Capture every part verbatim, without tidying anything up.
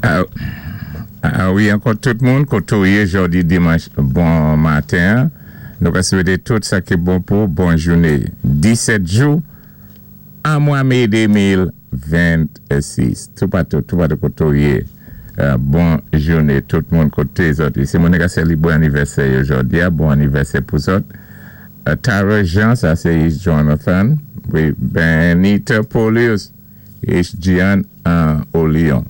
Ah, wi, ankò tout moun, koté ou yé jòdi dimanch bon maten. Nou ka swété tout sa ki bon pou bon jouné. disèt jou an mwa mé de mil vennsis. Tout patou, tout patou koté ou yé. Euh, bon jouné tout moun koté zòt. Si moun ka sélébwé anivèsè jòdi, bon anivèsè pou zòt. Euh, Tara Jean, sa sé Jonathan. Wi, Benita Polius. H G N an Olion.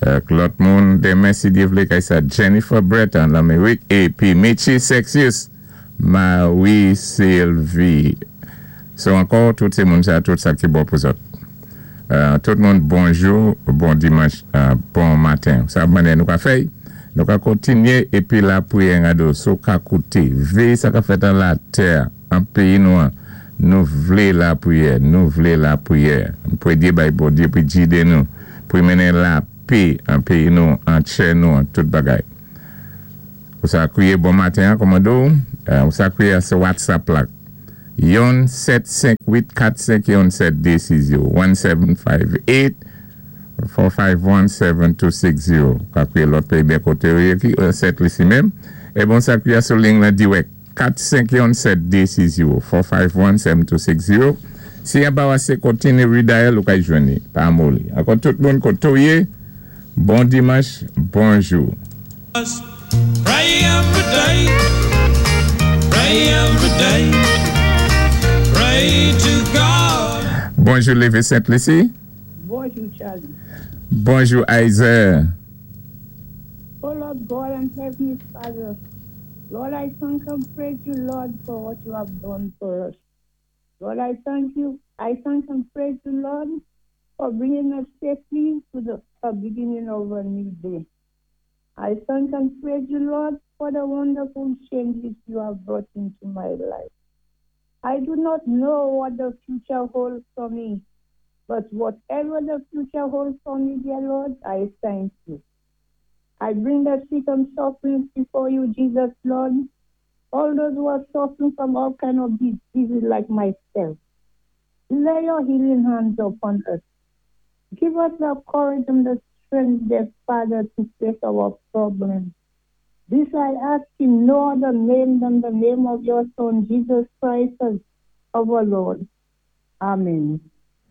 Euh, lòt moun, denmen si Dye vlé, kay sa Jennifer Brett an Lamérik, épi Michi Sexius, Marie Sylvie. So ankò, tout sé moun sa, tout sa ki bon pou zòt. Euh, tout moun, bonjou, bon dimanch, euh, bon maten. Sa mannyè nou ka fè, nou ka kontinyé épi lapriyè gado, si ou ka kouté, véyé sa ka fèt an latè, an péyi nou an, nou vlé lapriyè, nou vlé lapriyè. Pou Dye bay Bondye, pou gidé nou, pou mennen lapè an péyi nou, an tè nou, an tout bagay. Ou sa kwiyé bon maten, kòmando, euh, ou sa kwiyé sou WhatsApp la. Yon sèt senk uit kat senk yon sèt dé sis zéwo, one seven five eight four five one seven two six zero. Ka kwiyé lòt péyi byen koté ou yé ki sèt lisi menm. É bon sa kwiyé sou liy la dirèk. kat senk yon sèt dé sis zéwo four five one seven two six zero. Si yon pa wase kontinyé redial ou ka jwenn ni, pa moli. Ankò tout moun koté ou yé, bon dimanch, bonjou. Pray every day, pray every day, pray to God. Bonjou Lévé Sainte-Lucie. Bonjou, Charlie. Bonjou Isaiah. Oh Lord God and Heavenly Father, Lord, I thank and praise you, Lord, for what you have done for us. Lord, I thank you. I thank and praise you, Lord, for bringing us safely to the uh, beginning of a new day. I thank and praise you, Lord, for the wonderful changes you have brought into my life. I do not know what the future holds for me, but whatever the future holds for me, dear Lord, I thank you. I bring the sick and suffering before you, Jesus, Lord. All those who are suffering from all kind of diseases like myself. Lay your healing hands upon us. Give us the courage and the strength, dear Father, to face our problems. This I ask in no other name than the name of your Son, Jesus Christ, as our Lord. Amen.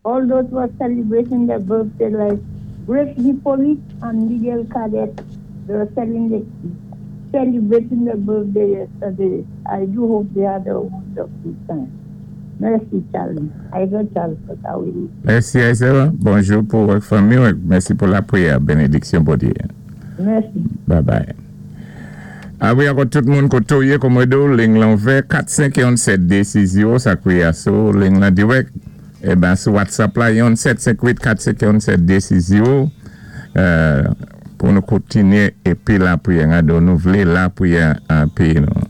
All those who are celebrating their birthday, like Grace Hippolyte and Miguel Cadet, they were celebrating, celebrating their birthday yesterday. I do hope they had a wonderful time. Mèsi, Charlie. I got Charles, but I will. Mèsi Isaiah. Bonjou pou vòt fanmi. Mèsi pou lapriyè. Bénédiksyon Bondye. Mèsi. Bye bye. Ah wi, ankò tout moun koté ou yé kòmando, liy lan ouvè kat senk yon sèt dé sis zéwo, sa kwiyé sou liy lan dirèk. Eh ben sou WhatsApp la yon sèt senk uit kat senk yon sèt dé sis zéwo euh, pou nou kontinyé épi lapriyè. Gado, nou vlé lapriyè an péyi nou.